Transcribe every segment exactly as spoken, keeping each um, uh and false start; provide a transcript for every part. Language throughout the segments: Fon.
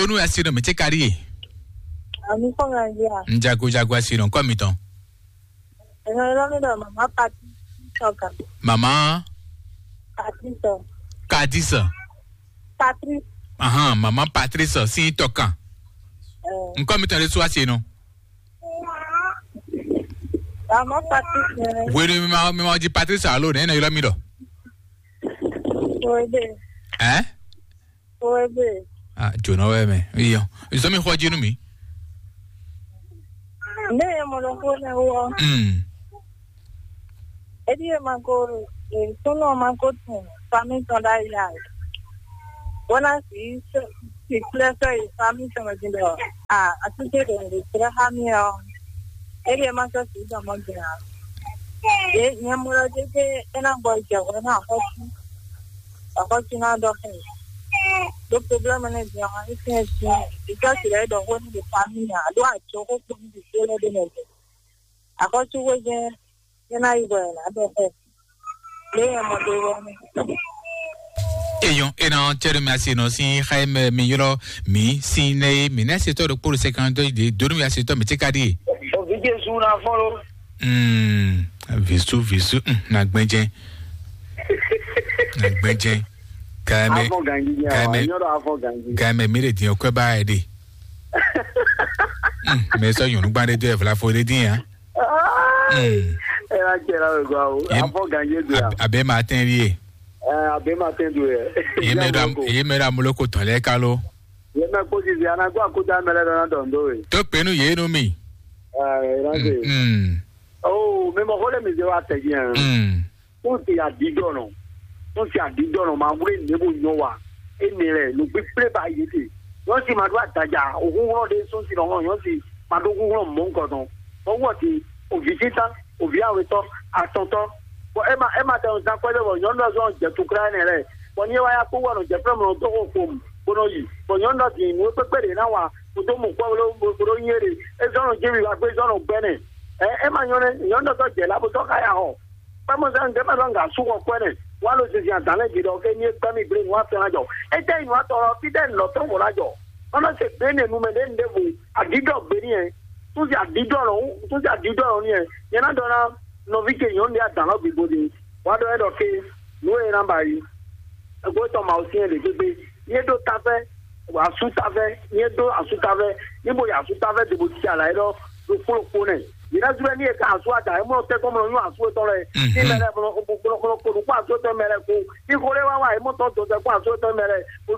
Onu asi no mi tse kari ye. Ami kɔ nga ya. Njago jago asi no kɔ mi tɔn. Ɛnɛ lɔ mi dɔ mama Patrice Tɔka. Mama Patrice. Kadisa. Patrice. Ahan, mama Patrice si tɔkan. Nkɔ mi tɔn de su asi no. Mama Patrice. Wenu mi ma mi ma di Patrice alo ne ne yɔrɔ mi dɔ. Oebe. Ɛ? Oebe. Ah, jona wɛ mɛ. Iyo. Izo mi xɔ jinu mi. Ne ye mo lɔ ko ne wo. Mm. Edi ye ma ko, e sono ma ko tun famille tɔn da ya. Bona si si klɛ sɛ yi famille tɔn di dɔ. Ah, asike de de sira ha mi o. Edi ye ma sɛ si dɔ mo gina. Ye nyɛ mo lɔ de de ena bɔ jɛ wɛ na xɔ si. Akɔsina dɔ xɛ. Do problème ne bien en fait bien. Ika ti lɛ dɔ ko ni de famille a do a jo ko ko ni de le de ne. Akɔsu we je. Ye na yi bɔ na dɔ xɛ. Le ya mo do wa ni. Eyon ena cɛri mi asi no si xɛ mi yɔrɔ mi si ne mi ne se tɔ do kpolo se kan do de do mi asi tɔ mi ti ka di. O vi Jesu na fɔlɔ. Mm, visu visu mm, na gbɛnjɛ. Na gbɛnjɛ. Kaime. Afɔ gangi ya. Kaime. Nyɔrɔ afɔ gangi. Kaime mi le din okwe ba e de. Mm, me so yunu gba de do e vla fo de din ya. Mm. Era kera we gwa o. Afɔ gangi do ya. Abe ma ten vie. Eh, abe ma ten do ye. Ye me da ye me da muloko tɔlɛ kalo. Ye me ko di ya na gwa ko da mele da na dondo we. To penu ye no mi. Eh, era de. Mm. Oh, me mo hole mi je wa te bien. Mm. Tɔn se adidɔnɔ, tɔn se adidɔnɔ ma wlé nɛbo nyɔ wa. Ene lɛ no gbégbé ba yé te. Nyɔn si ma ɖó adaja, òhúnhlɔ́n ɖé sún si nɔ nyɔn si ma ɖó húnhlɔ́n mɔ̌ ŋkɔ tɔn. Bɔ wɔ ti, òvi títán, òvi awetɔ, atɔntɔ. Bɔ ema ema tɛ zan kɔjɔ bɔ nyɔnu dɔ zɔn jɛ tukla ene lɛ. Bɔ ni wa ya kpó wa nɔ jɛ fɛn mɔ dɔ ko fom, bɔ nɔ yi. Bɔ nyɔnu dɔ din nu kpekpe ɖe na wa, ko do mɔ kɔ bolo bolo nyɛ ɖe. E zɔn nɔ jimi wa gbé zɔn nɔ gbɛnɛ. Ɛ ema nyɔnɛ, nyɔnu dɔ jɛ la bo tɔ ka ya hɔ. Kpɛmɔzɛn ɖé mɛ lɔ nga sú xɔ kpɛnɛ, wa lo zinzin adǎn lɛ jí ɖɔ ké ní é gbɛ́ mì gblé nǔ afɛn ná jɔ. É jẹ́ ìnú atɔ lɔ fí ɖé lɔ tɔn wò ná jɔ. Mama se gbé ne nu mɛ ɖé nu ɖé vo, adídɔ gbé ní yɛ. Tún sí adídɔ lɔ, tún sí adídɔ lɔ ní yɛ. Nyɛ ná ɖɔ ná nɔví ce nyɔ̌nu ɖé adǎn lɔ gbígbó ɖé. Wa ɖɔ ɛ ɖɔ ké, nǔ e ná ba yi. Ẹgbẹ́ tɔn ma ò sí yẹn ɖě gbégbé. Ní é ɖó táfẹ́, asútáfẹ́, ní é ɖó asútáfẹ́, ní mo yi asútáfẹ́ ɖě bó cí ala é ɖɔ ɖo kplɔ́kpó nɛ. Yě ná zú ní e ka asú ada, é mɔ tɛ́ kɔn mɔ nyɔ asú etɔn lɛ. Ní mɛ lɛ mɔ kó nukpó asú etɔn mɛ lɛ kó. Ní xó lé wá wá, é mɔ tɔn dɔn tɛ́ kó asú etɔn mɛ lɛ. Bó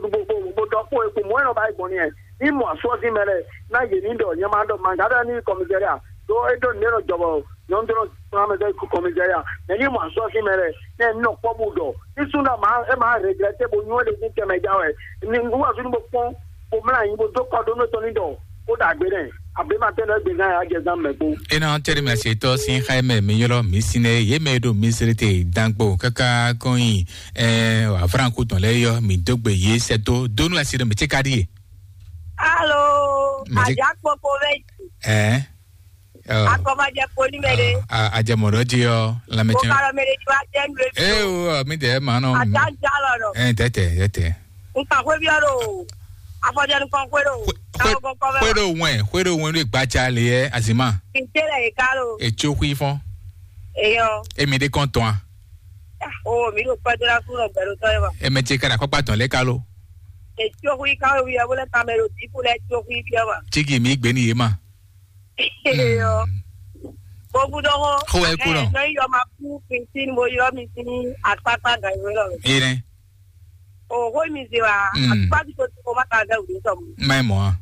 dɔ kpó é kó mɔ ɛ nɔ ba yi gbɔn ní ɛ. Ní mɔ asú ɔ́ sín mɛ lɛ, ná yě ní ɖɔ nyɛ ma ɖɔ mangǎ ɖɔ ní kɔmizɛ́ria. Ɖó é ɖó nǔɖé nɔ jɔ bɔ nyɔ̌nu ɖó nɔ kplɔ́n mɛ dɔ yi kɔmizɛ́ria. Mɛ ní mɔ asú ɔ́ sín mɛ lɛ, nɛ ní nɔ kpɔ́ bó ɖɔ. Ní súnnu ma é ma regrɛtɛ bó nyɔ́ ɖe ní tɛmɛ já wɛ. Ní wúwasú ní bó kpɔ́n bó mlá anyi bó dó kɔ ɖó nú tɔn ní ɖɔ kó ɖagbe nɛ. Abe ma tɛn ɖɔ égbé gán ya jɛ zán mɛ kpó. Ena tɛri mi asetɔ sin xaimɛ mi yɔlɔ mi sinɛ ye mɛ ɖo mi sere te dangbo kaka kɔnyi ɛ afranku tɔn lɛ yɔ mi dogbe ye sɛto donu asi ɖe mi tse ka ɖi ye. Alo, Mɛ tse- Ajakpokpo bɛ ɛ Akɔmajɛ foni mɛ ɖe. A- a- ajɛmɔɖɔ ji ɔ lamɛtsɛn Bokalɔ mɛ ɖe ti wa jɛ nu ebi. Ee o mi dɛ ma nɔ Ata ja lɔ nɔ. Ɛ tɛtɛ tɛtɛ. Nkan xwe bi ɔɖo. Afɔjɛ nkan xwe ɖo. Tawo kɔkɔ bɛ. Xwe ɖo wɛn xwe ɖo wɛn ɖo gbatsa le yɛ azima. Kinte lɛ yi ka lo. Etso xui fɔn. Eyɔ. Emi ɖe kɔn tɔn a. O mi ɖo kpɛdo la fún lɔ gbɛdo tɔ ye ma. Eme tse ka ɖe akɔkpa tɔn lɛ ka lo. Etso xui ka lo wi ɛ bo lɛ kan mɛ ɖo diku lɛ etso xui bi ɛ ma. Tsigi mi gbe ni ye ma. Eyɔ. Bobu dɔgɔ. Xo wɛ ku nɔ. Nɔ yɔ ma ku Christine mo yɔ mi sin akpakpa gan yi wɛ lɔ. Ene. O xo mi se wa. Mm. Akpa ti ko ti ko ma ka gan wuli sɔmu. Mai mɔ a.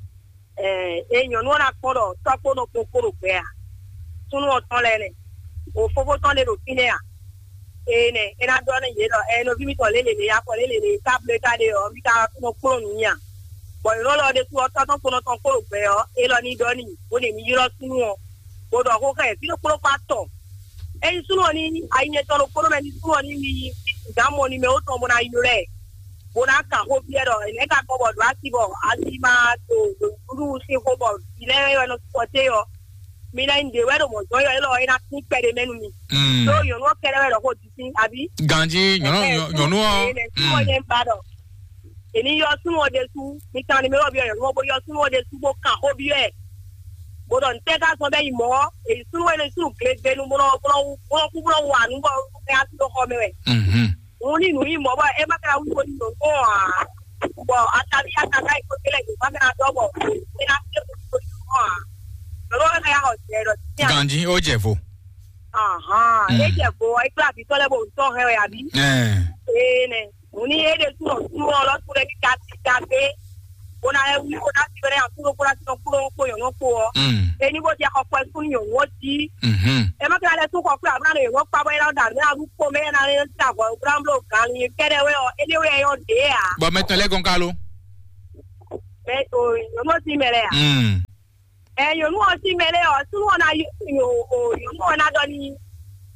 Ɛ e nyɔnu ɔna kpɔ dɔ tɔkpo nɔ kpokpo ɖo gbɛ a. Sunu ɔtɔn lɛ nɛ. O fofo tɔn de ɖo fínɛ a. Ee nɛ e na ɖɔ ne yě ɖɔ ɛ nɔví mitɔn lélele ya kɔ lélele ka ble ka ɖe ɔ mi ka nɔ kplɔ́n nǔ nya. Bɔn yɔ̌ lɔ ɖe sú ɔtɔ́ tɔn kponɔ tɔn kpó ɖo gbɛ ɔ, é lɔ ní ɖɔ n'i bó ɖe mi ylɔ́ súnnu ɔ, bó ɖɔ xó xá ɛ fí ɖokpó ɖokpó atɔn. Ényí súnnu ɔ ní ayi nyɛ tɔn ɖokpó ɖó mɛ ní súnnu ɔ ní mi dǎn mɔ ní mɛ ó tɔn bó ná ylɔ́ ɛ, bó ná kan xó byɔ́ ɖɔ nɛ̌ ka gbɔ bɔ ɖǒ asi bɔ asi ma ɖo ɖo nǔɖuɖu sín xó bɔ vǐ lɛ́ɛ wɛ nɔ sukpɔté ɔ, mi ná nyí ɖě wɛ ɖo mɔ̌ jɔ́n ylɔ́ ɛ lɔ é ná sín kpɛɖé mɛ nú mi. Ɖó nyɔ̌nu ɔ́ kɛ́ɖɛ́ wɛ ɖɔ xó jí sín abí. Ganjí nyɔ̌nu nyɔ̌nu ɔ́. Súnnu ɔ nyɛ ba ɖɔ. È ní ylɔ́ súnnu ɔ́ ɖésú, mi kan ni mɛ ɔ́ byɔ́ nyɔ̌nu ɔ́, bó ylɔ́ súnnu ɔ́ ɖésú bó kan xó byɔ́ ɛ. Bó ɖɔ nǔtɛ́ ka zɔ́n bɛ́ yi mɔ̌ ɔ́, è yi súnnu e nɔ yi súnnu glegbenu bó nɔ bó nɔ wú bó nɔ kú bó nɔ wú anu bɔ é ná sí ɖó xɔ mɛ wɛ. Mhm. Òun ní nǔ yi mɔ̌ bɔ é má ka ná wú bó ní nɔ kpɔ́n ǎ. Bɔ ataví ataká yi kó kélé gbě má ka ná dɔ́ bɔ é ná sí ɖó xɔ ǎ. Lɔlɔ wɛ ká yá xɔ jɛ ɖɔ sí nya. Ganji, ó jɛ vo. Ahán, Mm. é jɛ vo ɔ́, é kplá vǐ tɔn lɛ́ɛ bó wú tɔn hɛn wɛ àbí? Ɛɛ. Ee nɛ. Òun ní é ɖe súnɔ súnɔ lɔ súnɔ ní ka ti ka gbé. Bó ná wí bó ná ti bɛ́rẹ́ àkúrò kó ná ti nɔ kúrò kó yɔ̀nɔ kó ɔ. Mm. Ení bó jẹ xɔ kpɛ sún yòówó jí. Mhm. Ẹ má kí lálẹ́ tún kɔ kúrò àbúrò àlọ́ yòówó pa bóyá náà dàrú náà lú kpó mẹ́yà náà lé sí àgọ́ búráńbúrò gan ni kẹ́rẹ́ wẹ́ ɔ éléwé ẹ yọ dé à. Bɔ mɛtɔn lɛ gɔn kalo. Mɛ o yòówó sí mɛ lɛ à. Mm. Ɛ yòówó ɔ sí mɛ lɛ ɔ súnú ɔ ná yí o o yòówó ɔ ná dɔ ní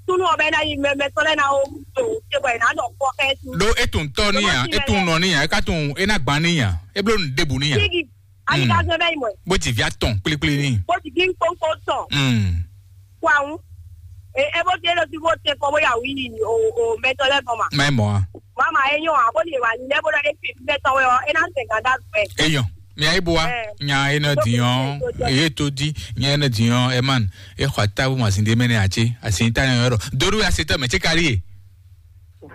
súnú ɔ bɛ ná yí mɛ mɛtɔn lɛ ná o o ṣe bɔ ẹ ná dɔ kpɔ kɛ sí. Ɖó etun tɔ ní ya, etun nɔ ní ya, eka tun ena gban ní ya, eblo nu debu ní ya. Kíkì. Ani ka zɔn bɛ yi mɔ. Bó ti via tɔn kplikpli ní. Bó ti kí n kpónkpó tɔn. Mm. Kó àwọn. E e bó ti é lọ sí bó tẹ kọ bóyá wí o o mẹtọ lẹ bọ ma. Mɛ mɔ a. Mama e nyɔ a bó lè wà ní lẹ bó lọ é fi mẹtọ wẹ ọ é ná sẹ gàdá gbẹ. Eyɔn, mi ayi bo wa. Nya e nɔ di yɔn, eye to di, nya e nɔ di yɔn, ɛ man, e xɔ atabu ma sin de mɛ ne a ce, a sin ta yɔn yɔrɔ. Doru ya se tɔ mɛ ce kari ye.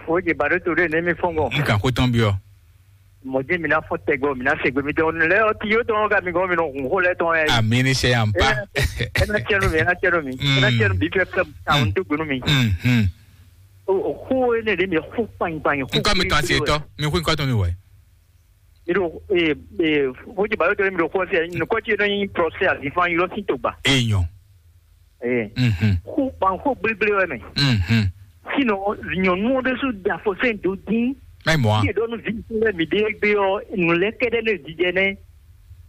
Fo je ba do to de ne mi fɔn gɔ. N kan ko tɔn bi ɔ. Mɔdé mi ná fɔ tɛgbɛ mi ná se gbemi tɔn lɛ ɔti yóò tɔn ka mi gɔn mi nɔ hun xó lɛ tɔn yɛ. Ami ni sɛ yan pa. Ena tiɛnu mi ena tiɛnu mi ena tiɛnu bi fɛ fɛ àwọn tó gbenu mi. Mhm. O xó ne de mi xó kpanyi kpanyi xó. Nkɔ mi tɔn asi etɔ mi xó nkɔ tɔn mi wɛ. Mi ɖo ee ee xójú bàbá tó mi ɖo xó se nukɔ tí yóò nyi prɔsɛ àzìfán yóò sí tó gbà. Eyɔn. Ee. Mhm. Xó kpanxó gblégblé wɛ mɛ. Mhm. Sinɔ nyɔnu ɔ́ ɖésú da fɔ sɛn dó dín. Mɛ mɔ a. Yíyẹ dɔnnu vi lɛ mi ɖe gbé ɔ nu lɛ kɛɖɛ ne jijɛ nɛ.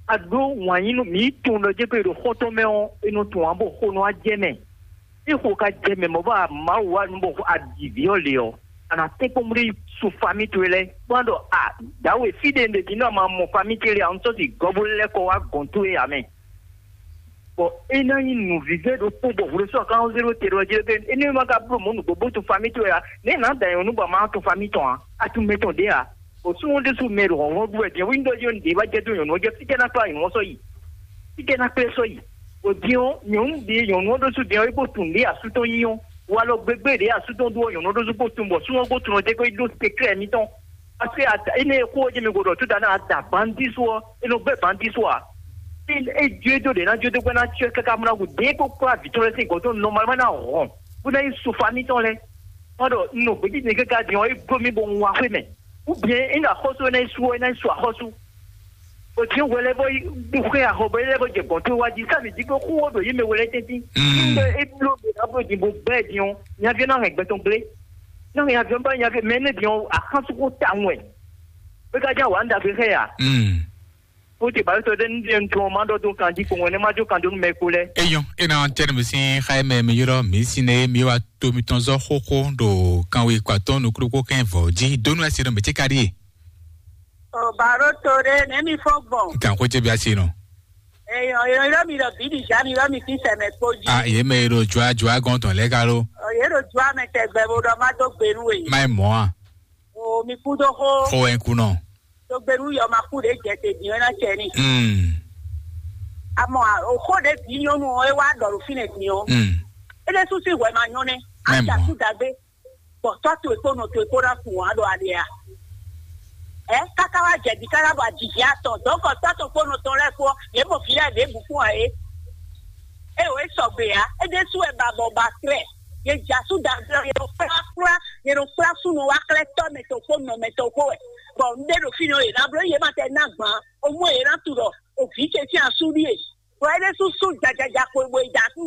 A ɖó wǎn yí nu mi tun ɖɔ jɛ pé ɖo xɔtɔn mɛ ɔ e nɔ tun wǎn bɔ xo nɔ a jɛ mɛ. Ixo ka jɛ mɛ mɔ bɔ Mawu wa nu bɔ a ɖi vǐ ɔ le ɔ, a nà tɛ́nkpɔ́n bó su fami towe lɛ́ɛ kpɔ́n ɖɔ a dǎwe fí ɖe un ɖe din nɔ ma mɔ fami ce le a un sɔ́ si gɔ́ bó lɛ́ kɔ wá gɔ̌n towe ǎ mɛ. Bɔ é ná nyí nǔvívɛ́ ɖokpó bɔ hwlɛ́sɔ́ kan zéro te ɖɔ jɛ be énɛ́ ma ka bló mɔ̌ nǔgbó bó tun fami towe ǎ. Nɛ̌ nǎ da nyɔ̌nu bɔ ma tun fami tɔn ǎ, a tun mɛ tɔn ɖě ǎ. O súnnu ɖésú mɛ ɖo hlɔ̌nhlɔ́n ɖu wɛ din ɔ́, wíńdó ɔ́ jí ɔ́ nǔɖé wá jɛ dó nyɔ̌nu ɔ́ jɛ fí jɛ ná kplá nyɔ̌nu ɔ́ sɔ́ yi. Fí jɛ ná kplé sɔ́ yi. O din ɔ́, nyɔ̌nu ɖě ɖo nyɔ̌nu ɔ́ ɖésú din ɔ́, é bó tunwun ɖě asú tɔn nyí ɔ́, walɔ gbégbé ɖě asú tɔn ɖu ɔ́, nyɔ̌nu ɔ́ ɖésú bó tunwun bɔ súnnu ɔ́ bó tunwun ɔ́ jɛ kó yi ɖó seklɛ́ɛ mitɔn. Parce que ata énɛ́ e xó ɔ́ jɛ mi ko ɖɔ tó da ná da bandí sú ɔ́, é nɔ gbɛ́ bandí sú ǎ. É é jó é dó ɖě ná jó dó gbɛ́ ná cyɔ́ káká mú ná hu dě kó kplá vǐ tɔn lɛ́ɛ sín gɔ̌ tɔn nɔmalmɛ́ ná hɔn bó ná yi su famí tɔn lɛ́ɛ. Má ɖɔ un nɔ gbějínjɛn káká din ɔ́, é bló mì bɔ un wá xwé mɛ. Ou bien é ná xɔ́sú é ná yi sú ɔ́, é ná yi sú axɔ́sú. Bɔ din hwɛ lɛ́ɛ bɔ yi xwé axɔ bɔ é lɛ́ɛ bɔ jɛ gɔ̌n tó wá jí sá mǐ jí bó xú wó ɖo yě mɛ hwɛ lɛ́ɛ tɛ́ntin. Mm. Nígbà é bló mì ná bló din bó gbɛ́ din ɔ́, nyaví ɔ́ ná hɛn gbɛ tɔn gblé. Ná hɛn nyaví ɔ́ bá nyaví mɛ énɛ́ din ɔ́, axánsúnxó tawun wɛ. É ka ján wǎ un ɖagbe xá ɛ ǎ. Mm. Ó ti bǎ tó ɖé ní ɖe un tún ɔ́ má ɖɔ dó kan jí kpowun ɛnɛ́ má jó kan dó nú mɛ kpo lɛ́ɛ. Eyɔn, ena tɛnɛ mi sin xa mɛ mi yrɔ mi sin ne mi wa to mi tɔn zɔ xóxó ɖo kanwe kpatɔn nukúlukú kɛn vɔ jí donu ɛsɛ nɔ mi ti ka ɖie. Ɔ baro to ɖe ne mi fɔ gbɔn. Kan ko ce bi asi nɔ. Eyɔn eyɔn yrɔ mi ɖɔ bi di ja mi yrɔ mi fi sɛmɛ kpo jí. A ye mɛ yrɔ jua jua gɔn tɔn lɛ ka lo. Ɔ ye ɖo jua mɛ tɛgbɛ bo ɖɔ ma do gbe nu we. Ma ye mɔ a. O mi kú dó xó. Xó wɛ kú nɔ. Tó gbé nú yɔ ma kú ɖě jɛ te din ɔ́ ná cɛ ní. Mm. Àmọ́ òxó ɖě bǐ nyɔ́nu ɔ́ é wá ɖɔ ɖo fínɛ́ din ɔ́. Mm. É ɖésú sín hwɛ ma nyɔ́ nɛ́. Mɛ Á jà mɔ. Sú dagbe. Bɔ tɔ́ towe kpó nɔ towe kpó ná kun wǎn ɖo ali a. Ɛ káká wá jɛ di káká bɔ ajijì atɔn dɔ̌nkɔ tɔ́ tɔn kpó nɔ tɔn lɛ́ɛ kpó ɔ́, yě mɔ vǐ lɛ́ɛ ɖěbǔ kpó ǎ é. É o é sɔgbe ǎ. É ɖésú wɛ ba bɔ ba klɛ́. Yě jà sú dagbe ɔ́, yě nɔ kplá kplá yě nɔ kplá súnnu wá klɛ́ tɔ́ mɛ tɔn kpó nɔ mɛ tɔn kpó wɛ. Bɔ un ɖe ɖo fínɛ́ ɔ́, yě ná bló yě ma tɛ ná gbǎn. Omú e yě ná tu ɖɔ òvǐ ce sín asú ɖíe. Bɔ é ɖésú sú jajaja xwe bo yi da asú.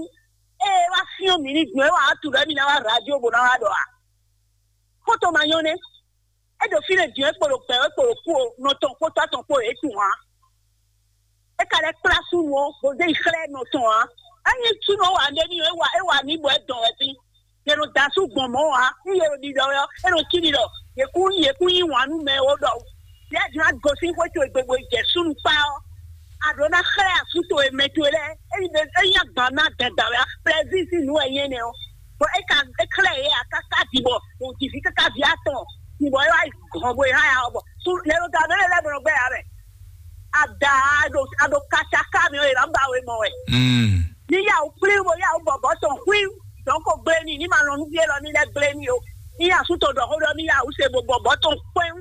Ée é wá fyɔ́n mǐ ní gbɔn é wǎ wá tu ɖɔ émí ná wá radio bó ná wá ɖɔ ǎ. Xóto ma nyɔ́ nɛ́. É ɖo fínɛ́ din é kpo ɖo gbɛ̌ é kpo ɖo kú o, nɔ tɔn kpó tɔ́ tɔn kpó é tunwun ǎ. É ka lɛ́ kplá súnnu ɔ́, bó zé yi xlɛ́ nɔ tɔn ǎ. Ényí súnnu ɔ́ wa nɖé n'i ɔ́, é wa é wa n'i bɔ é dɔn wɛ fí. Yě nɔ da asú gbɔn mɔ̌ ǎ. Nú yě ɖo ɖiɖɔ wɛ ɔ́, é nɔ cí ɖiɖɔ. Yě kún yě kún yí wǎn nú mɛ ó ɖɔ yě jlá gosín xwé towe gbe bo yi jɛ súnnu kpá ɔ́, a ɖǒ ná xlɛ́ asú towe mɛ towe lɛ́ɛ. Ényí ɖe ényí agban ná dɛn dǎn wɛ ǎ, plɛzín sín nǔ wɛ nyí énɛ́ ɔ́. Bɔ é ka é xlɛ́ yě ǎ káká din bɔ wǒ ji vǐ káká vǐ atɔn. Din bɔ é wá yi gɔ̌n bo yi há ya ɔ́ bɔ Su lɛ ɖo da mɛ lɛ lɛ bɔ nɔ gbɛ ya mɛ. Ada a ɖo a ɖo kaca ka mi o yɛ na ba we mɔ wɛ. Mm. Ni ya o kpli wo ya o bɔbɔ tɔn hui. Donc o gble ni ni ma lɔn nu vie lɔ ni lɛ gble ni o. Ni ya su to ɖɔ xo ɖɔ ni ya o se bo bɔbɔ tɔn kpɛn.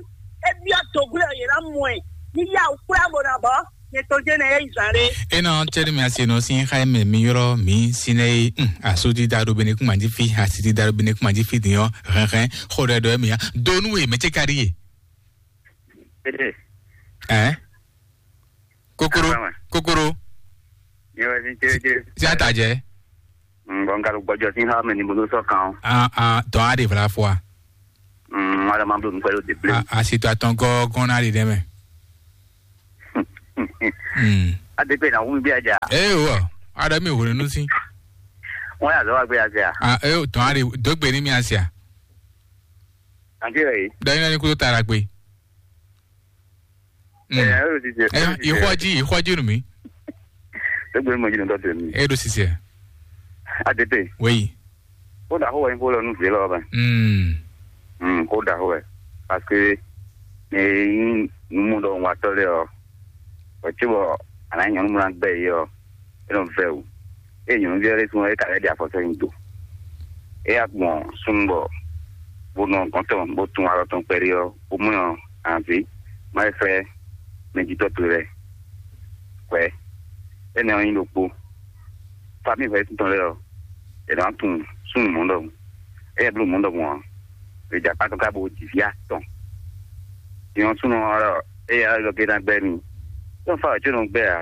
E biɔ to gble o yɛ na mɔ ɛ. Ni ya o kpla bo na bɔ. Ye to jɛ nɛ ye zan ɖe. Ena tsɛri mi asi nɔ sin xa mɛ mi yɔrɔ mi sinɛ ye. Hmm, asudi da ɖo bene kuma ji fi, asidi da ɖo bene kuma ji fi diɔ. Hɛn hɛn xo ɖɛ ɖɔ mi ya. Donu ye mɛ ce ka ɖi ye. Ede. Ɛ? Kokoro. Awa. Kokoro. Nyɛ wɛ sin chéréjé. Si ata jɛ. Bɔn n ka ɖo gbɔjɔ sín xá mɛ ni bo dó sɔ́ kan ɔ́. Ah, ah, tɔn á ɖe vla fɔ a? Ŋwa ɖe ma bló nukpɛ ɖo deblé. Ah, asi to atɔn gɔ́gɔ́n ná ɖe ɖɛ mɛ. Hmm. Ade pe na wu mi bí aja. Ee o, aɖe mi hwenu nu si. Ŋwa yà zɔ wa gbé aja. Ah, ee o, tɔn á ɖe dó gbe ní mi asi a? Àǹtí rẹ̀ yìí. Dɔ yín lɔ ní kútó tara gbe. Ẹ ẹ ló ti jẹ. Ẹ ìxɔjí ìxɔjí nù mí. Égbé mọ̀ yìí nìkan tẹ̀ mí. Ẹ ló ti jẹ. Àtẹ̀tẹ̀. Wéyí. Kó dà kó wẹ̀ ní kó lọ nù fìlẹ́ lọ́wọ́ bẹ́ẹ̀. Mm. Mm, kó dà kó wẹ̀. Parce que ní yín nùmú dɔ wà tọ́ lé ọ. Wẹ̀ tí wọ àná nyɔ̀nú múná gbẹ yìí ọ. É nɔ vɛ o. É nyɔ̌nu vɛ́ ɖé tún é ka lɛ́ ɖi afɔ sɛ́ nyi do. É yá gbɔn súnnu bɔ bó nɔ gɔ̌n tɔn bó tún alɔ tɔn kpɛɖé ɔ́, bó mɔ anvi má yi fɛ́ mɛjitɔ́ towe lɛ́ɛ. Hwɛ̌ énɛ́ ɔ́ nyí ɖokpó. Famíi hwɛ̌ tɔn lɛ́ɛ ɔ́, è nǎ tunwun súnnu mɔ̌ ɖɔhun. Éyɛ́ bló mɔ̌ ɖɔhun ɔ́, è jɛ akpá tɔn káká bó ji vǐ atɔn. Nyɔ̌nu súnnu ɔ́ ɖɔ éyɛ́ ɔ́ lɔ gé ná gbɛ́ mì. Tɔ́n fa wɛ̌ có nɔ gbɛ́ ǎ.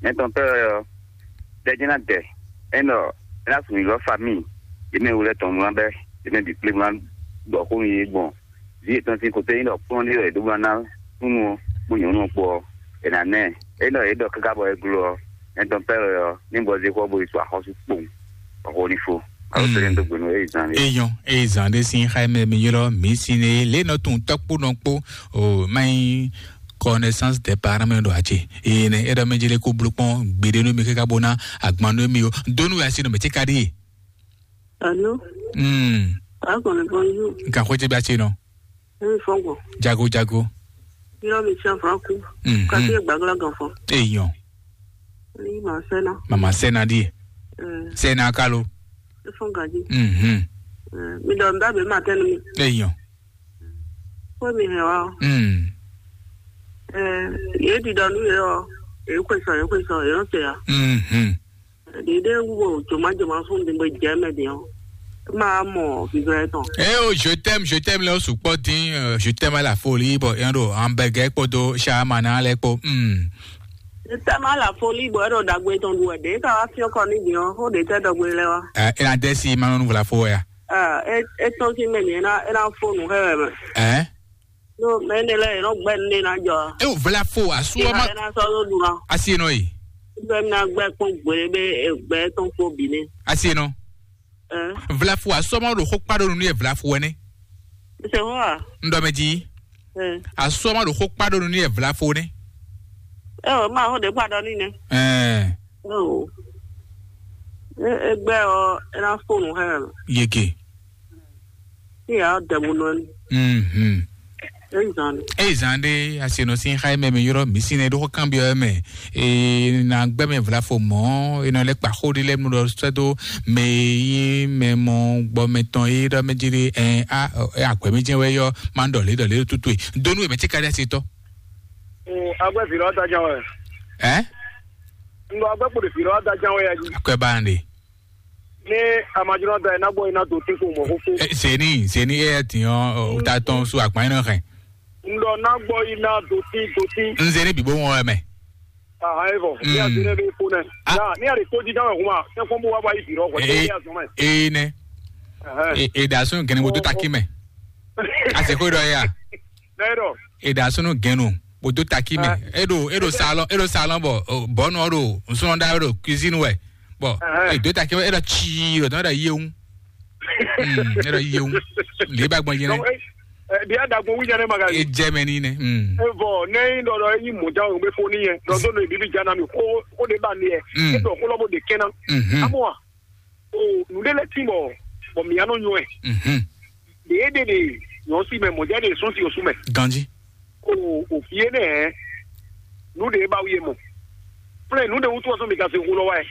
Nyɛ tɔn pɛ́ wɛ ɔ́, ɖɛ jɛ́n ná dɛ. É nɔ é ná sun nyǐlɔ́ famíi, yě mɛ e wú lɛ́ɛ tɔn mlá bɛ́, yě mɛ bǐ kplé mlá ɖɔ xó nú yě gbɔn vǐ yětɔn sín kotɛ́ nyí ɖɔ kplɔ́n ɖé wɛ è ɖǒ ná ná súnnu ɔ́ kpó nyɔ̌nu ɔ́ kpó ɔ́, è nǎ ná ɛ. É nɔ yě ɖɔ káká bɔ é gló ɔ́, nyɛ tɔn pɛ́ wɛ ɔ́, ní gbɔ zé xɔ bó yi to axɔ́sú kpowun, bɔ xó ní fó. Alo tɛ́ tó gbenu é yi zan lé. Eyɔn, eyi zan ɖé sín xá mɛ mi ylɔ́ mǐ sín é lě nɔ tunwun tɔ́kpó nɔ kpó o má nyí connaissance des parents mɛ ɖo acé. Eye nɛ é ɖɔ mɛ jele kó bló kpɔn gbeɖé nú mi káká bó ná agban nú mi o. Dónú wɛ asi nɔ mɛ tí ka ɖíe. Alo. Hmm. Akɔni bonjour. Nkan xwé tɛ bí asi nɔ. Emi fɔn gbɔ. Jago jago. Yɔ mi tiɲɛ fɔlɔ ku. Mhm. Kati egbagla gan fɔ. Eyɔn. Ni ma sɛna. Mama sɛna ɖíe. Ɛɛ. Sɛna kalo. Efɔn gaji. Mhm. Ɛɛ, mi dɔ nda bɛ ma tɛnu mi. Eyɔn. Kó mi hɛn wa. Mm. Ɛɛ, yé di dɔ nu yɛ ɔ, yé kwe sɔ, yé kwe sɔ, yé nɔ se ya. Mhm. Ɖiɖe wo joma joma fún mi gbe jɛ mɛ din ɔ. Ma mɔ vivɛ tɔn. Eh oh, je t'aime, je t'aime lɛ o sukpɔ din, euh, je t'aime à la folie, bon, yɛn ɖo hamburger kpódó shawarma ná lɛ kpó. Hmm. Je t'aime à la folie, bon, ɛɖo dagbe tɔn ɖu wɛ ɖe ka wá fiɔ kɔ ní din ɔ, xó ɖe tɛ dɔgbe lɛ wa. Eh, ena desi ma nɔ vla fo ya. Eh, e e tɔn si mɛ ni ena ena fo nu xɛ wɛ mɛ. Eh? No, mɛ ne lɛ yɛn nɔ gbɛ ne na jɔ. E o vla fo asu Ìhà ma. Ena sɔ ló dun na. Asi nɔ yi. Bɛ na gbɛ kpɔn gbele be gbɛ tɔn kpó bi ne. Asi nɔ. Ɛɛ. Vlafu asɔmɔ ɖo xó kpa ɖo nu nú yɛ vlafu wɛ nɛ. Ṣe hó a? Ŋɖɔ mɛ jí. Ɛɛ. Asɔmɔ ɖo xó kpa ɖo nu nú yɛ vlafu nɛ. Ɛ o ma xó ɖe kpa ɖɔ ní nɛ. Ɛɛ. Ɛ o. Ɛ ɛ gbɛ ɔ ɛ na fóònù hɛ. Yeke. Ní yà á dẹ̀mú nɔ ni. Mhm. Ɛ zan ni. Eyi zan ɖe asenɔ sin xa mɛ mi yɔrɔ mi sin ne ɖo xɔ kan biɔ mɛ. E na gbɛ mɛ vla fo mɔ e nɔ lɛ kpa xo ɖi lɛ mu ɖɔ sɛ do mɛ yi mɛ mɔ gbɔ mɛ tɔn yi ɖɔ mɛ dzi ɖe ɛ a ɛ agbɛ mi jɛ wɛ yɔ ma ɖɔ le ɖɔ le tutu e donu e mɛ ti ka ɖe asi tɔ. Agbɛ fi lɔ da jan wɛ. Ɛ. Ŋgɔ agbɛ kpo de fi lɔ da jan wɛ ya ji. Akɔɛ ba ɖe. Ní amajunɔ da ina gbɔ ina do tí kò mɔ kókó. Ɛ, zeni zeni e yɛ tiɲɔ o ta tɔn so akpa ina hɛn. Ŋdɔ ná gbɔ ina do tí do tí. N zeni bibo ŋɔ mɛ. Ahan e vɔ. Ní a zeni bɛ fo nɛ. Ah. Ya ní a de tó jí dáwɛ kuma. Ẹ fɔn bó wá bá yí bìrɔ kɔ. Ee, ní a zɔn mɛ. Ee nɛ. Ɛhɛn. E e da sun gɛnɛ mo tó taki mɛ. A se ko dɔ ya. N'e dɔ. E da sun gɛnɛ mo tó taki mɛ. Ah. E do e do salon e do salon bɔ bɔnu do nsɔn da do cuisine wɛ. Bɔ e do taki mɛ e do tsi do dɔn da yewu. Mm, e do yewu. Le ba gbɔn yɛn. Ɛ, bi a dagbo wu jɛ ne ma ka. E jɛ mɛ ni nɛ. Mm. E vɔ ne yi dɔ dɔ yi mo ja o be fo ni yɛ dɔ do ne bibi ja na mi ko ko de ba ni yɛ. Mm. E dɔ ko lɔ bo de kɛna. Mhm. Amo wa. O nu de lɛ ti bɔ bɔ mi ya nɔ nyɔ ɛ. Mhm. De e de de nyɔ si mɛ mo ja de sun si o su mɛ. Ganji. O, o fie nɛ, nǔ ɖe ba wie mɔ. Flɛ nǔ ɖe wútu ɔsɔ mi ka se xó lɔ wá ɛ.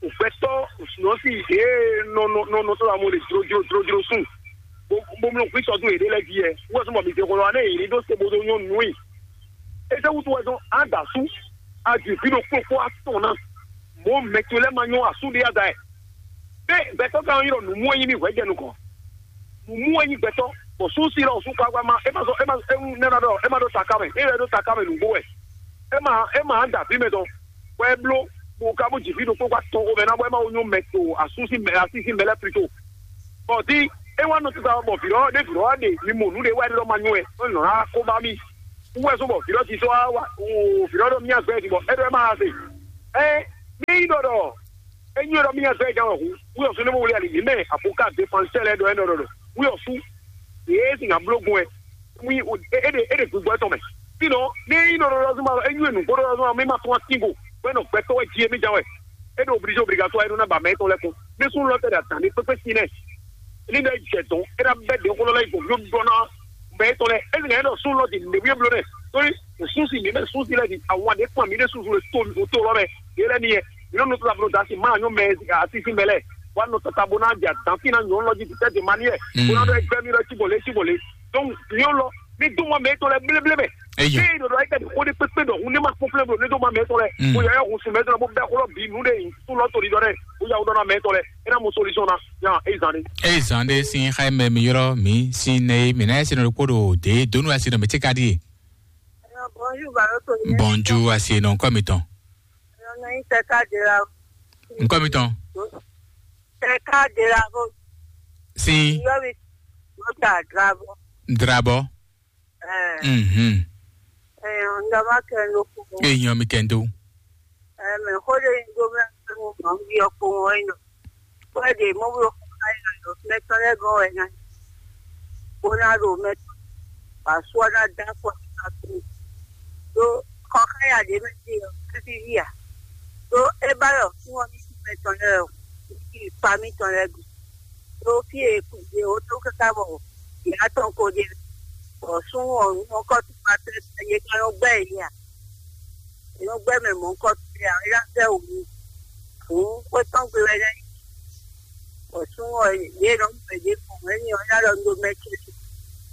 O gbɛtɔ nɔ si e nɔ nɔ nɔ nɔ tɔ amɔ le dro dro dro dro sun. Bo bo mlɔ kwi sɔdun yɛɖe lɛ di ɛ. Wɔ sɔmɔ mi se xó lɔ wá ne yɛɖe ɖo se bo do nyɔ nui. Ese wútu wɛ dɔn ada su. Adi fi ɖo kpokpo atɔn na. Mo mɛ to lɛ ma nyɔ asu ɖe ada ɛ. Be gbɛtɔ kan yɔ nu mu enyi mi hwɛ jɛ nukɔn. Mumú wɛ nyí gbɛtɔ́, bɔ sú sí lɔ sú kpakpa ma, é ma zɔ, é ma é nɛ́ ná ɖɔ, é ma ɖó taká mɛ, é wɛ ɖó taká mɛ nǔgbó wɛ. É ma é ma da fí mɛ tɔn, bɔ é bló, bó ka bó jǐ fí ɖokpó kpá tɔn xomɛ ná, bɔ é ma wó nyó mɛ to asú sín mɛ así sín mɛ lɛ́ɛ plito. Bɔ dí é wá nɔ tata bɔ vǐ lɔ ɖé vǐ lɔ wá ɖe mi mɔ nǔ ɖé wá ɖé lɔ ma nyó wɛ, é nɔ ná kó bá mì. Wú wɛ só bɔ vǐ lɔ ti sɔ́ wá wá, vǐ lɔ ɖɔ mì agbɛ din bɔ é ɖɔ é ma ha se. Ɛ ní nyí ɖɔ ɖɔ Enyi ɖɔ mía zɔ ɛ ján wɛ hu, wíyɔ sú ne mɔ wuli ali yě mɛ abo ká de fan sɛ lɛ ɖɔ ɛ nɔ ɖɔ ɖɔ wíyɔ sú yě sin abló gun ɛ. Wí é ɖe é ɖe gbígbɔ tɔn mɛ. Sinɔ ní é nyí ɖɔ ɖɔ zuma lɔ, é nyí nǔgbó ɖɔ zuma mi ma tún atín go bɔ é nɔ gbɛtɔ wɛ jí é mi ján wɛ. É ɖo obligé obligatoire é ɖó ná ba mɛ tɔn lɛ kún. Ní sún lɔ tɛ ɖe adǎn ní kpékpé sí nɛ. Ní ɖɔ é jɛ dɔn é ná bɛ ɖě xó lɔ lɛ yi gbɔn yó ɖɔ ná mɛ tɔn lɛ. É sin ɛ ɖɔ sún lɔ di nɖe wí é bló nɛ. Torí sún si mi mɛ sún si lɛ di àwọn àdé kpɔn mi ɖe susu le to to lɔ mɛ. Yé lɛ ni yɛ. Nyɔnu tó ta blo dasi ma nyɔ mɛ asisi mɛ lɛ. Wa nɔ tata bo na ja dan fi na nyɔnu lɔ ji tɛ de mani yɛ. Bo na dɔ gbɛ mi lɔ ci bɔ le ci bɔ le. Donc nyɔnu lɔ mi dun mɔ mɛ to lɛ bleble mɛ. Eyo. Fi do do ayika di ko de pepe dɔ hun ne ma kpɔn plɛ blo ne do ma mɛ to lɛ. Ko yɛ hun su mɛ to lɛ bo bɛ ko lɔ bi nu de yi su lɔ to di dɔ dɛ. Ko ya wo dɔ na mɛ to lɛ. E na mo solution na. Ya e zan de. Eyi zan ɖe sín xá mɛ mi ylɔ́ mǐ sín nɛ e mǐ ná yɛ sinɔ ɖokpó ɖo dě donu asi nɔ mǐ ce ka ɖíe. Bonjour, Baroto. Bonjour, asi nɔ ŋkɔ mitɔn. Nɔ yi tɛ ká de la. Ŋkɔ mitɔn. Tɛ ká de la ko. Si. Yɔ mi. Mo ta drabo. Drabo. Ɛɛ. Mhm. Ɛɛ, n daba kɛ no ko. Eyan mi kɛndo. Ɛɛ, mɛ xo de yin do mɛ mo ma bi ɔ ko ŋɔ yin. Ko de mo bo ko ka yin do mɛ tɔ lɛ gɔn wɛ na. Ko na do mɛ tɔ. Ba sɔ na da ko ka ko. Do kɔ ka ya de mɛ ti ɔ, ti ya. Ɖó é ba ɖɔ súnnu ɔ́ ní sú mɛ tɔn lɛ́ɛ ɔ́, ní yi kpa mítɔn lɛ́ɛ gbe. Ɖó fí e è kú ɖe ó ɖó káká bɔ yě ná tɔn ko ɖe, bɔ súnnu ɔ́, mɔ̌hunkɔtɔn ma tɛ́ yě ká nɔ gbɛ́ yě ǎ. Yě nɔ gbɛ́ mɛ mɔ̌hunkɔtɔn lɛ́ɛ ǎ, é ná sɛ́ wǔ n'i. Hǔn xwé tɔn gbe wɛ nɛ́. Bɔ súnnu ɔ́, yě nɔ mɔ ɖě gbɔn, é nyí ɔ́, é ná ɖɔ un ɖó mɛ ce.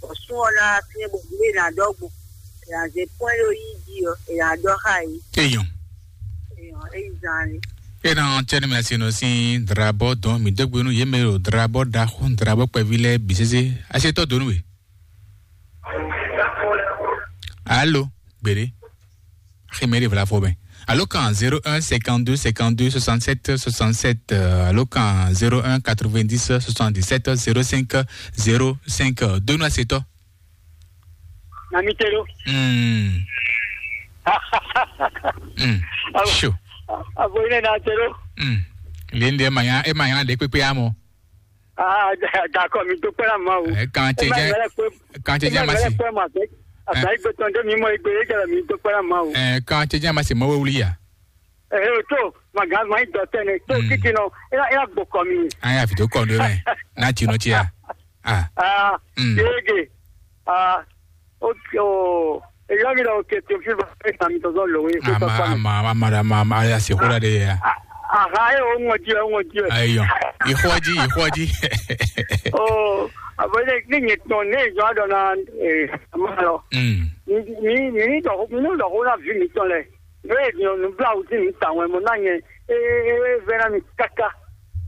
Bɔ súnnu ɔ́ ná wá fínɛ́ bɔ nǔ e è nǎ ɖɔ gbɔn, è nǎ zé kpɔ́n é ɖó yí jí ɔ́, è nǎ ɖɔ xá yě. Eyɔn. Eyɔn, é yi zán lé. Ena cɛnɛ mɛ asi nɔ sín drabɔ dɔn mi dégbe nú yě mɛ ɖo drabɔ ɖaxó drabɔ kpɛví lɛ́ɛ bǐ sésé. Asi tɔ donu we. Alo, gbede. Ximɛ ɖe vla fɔ mɛ. Alo kan zéro un cinquante-deux cinquante-deux soixante-sept soixante-sept, euh, alo kan zéro un quatre-vingt-dix soixante-dix-sept zéro cinq zéro cinq, donu asetɔ. Na mi te ɖo. Hmm. Hmm. Abo- Sure. Abo yi ne na te ɖo. Hmm. Linde manya e manya de kpekpe amɔ. Ah, d'accord, mi dúpẹ́ náà máa wò. Ẹ kàn ṣe jẹ́ kàn ṣe jẹ́ màsí. Pé màá fẹ́ àtàyè gbé tán dé mi mọ́ igbe yé jẹ́ mi dúpẹ́ náà máa wò. Ẹ kàn ṣe jẹ́ màsí mọ́ wíwúlí yá. Ẹ ẹ tó màgá máa ń dọ̀ tẹ́lẹ̀ tó kíkì náà ẹ ẹ gbọ́ kọ́ mi. Ayé àfi tó kọ́ ọ̀dọ́ rẹ̀ náà tì nù tì yá. Ah. Ah, Mm. Yége. Ah, ok, oh. Èyí mi lọ òkè tó fi bá ẹ sàmì tọ̀tọ̀ lòwe kó tọ́ Ama pa mi. ama ama ama ama ama ya se kura de ya. Aha, ẹ ò ń wọ́n jí ẹ ò ń wọ́n jí ẹ. Ayo. Ìhọ́jí ìhọ́jí. Oh, àbọ̀ ilé ní yẹn tán ní ìjọ àdọ́nà ẹ̀ àmọ́ lọ. Mm. Mi mi ní dọ̀kú mi ní dọ̀kú náà fi mi tán lẹ̀. Ní èdè ọ̀nù bíláwù tí mi tà wọ́n ẹ̀ mọ́ náà yẹn. Ee, ee, ee, vẹ́ràn mi káká.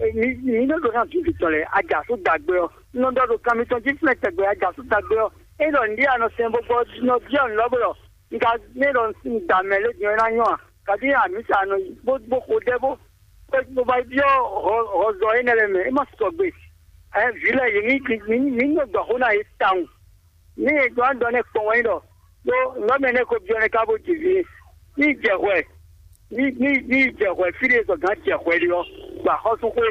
Ee, mi mi ní dọ̀kú náà fi mi tán lẹ̀. Ajá tó dàgbé ọ. Nɔ dɔ ɖo kanmitɔn jí flɛ́ tɛgbɛ ajǎ sú dagbe ɔ́, é ɖɔ nǔɖé anɔ sɛn bó gbɔ nɔ byɔ́ nǔ lɔ bó ɖɔ un ka nɛ ɖɔ un da mɛ lé din ɔ́ é ná nyɔ́ a? Kaɖí amǐsa nɔ yi bó bó xo ɖɛ bó bó bó ba yi byɔ́ hɔzɔ énɛ́ lɛ́ɛ mɛ, é má sɔgbe. Ɛ vǐ lɛ́ɛ yě ní ní ní nɔ gbɔ xó ná yě tawun. Ní e gbɔn dɔ nɛ kpɔn wɛ nyí ɖɔ ɖó nɔmɛ nɛ ko byɔ́ nɛ ká bó ji vǐ. Ní jɛ hwɛ ní ní ní jɛ hwɛ fí ɖé zɔ gǎn jɛ hwɛ ɖé ɔ́, gbɔ axɔ́súxwé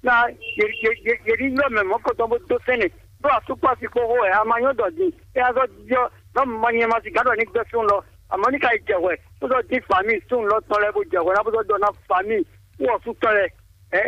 ná yě yě yě yě ní ylɔ́ mɛ mɔ̌kɔtɔn bó dó sɛ́nɛ ɖó asúkpási kpó xó wɛ a ma nyɔ́ dɔ din é ná zɔ́ byɔ́ nɔmɛ ma nyɛ ma si gǎn ɖɔ ní gbɛ́ súnnu lɔ, amɔ̌ ní ka yi jɛ hwɛ bó zɔ́ dín fǎmi súnnu lɔ tɔn lɛ́ɛ bó jɛ hwɛ ná bó zɔ́ ɖɔ ná fǎmi kú ɔ́ sú tɔn lɛ́ɛ ɛ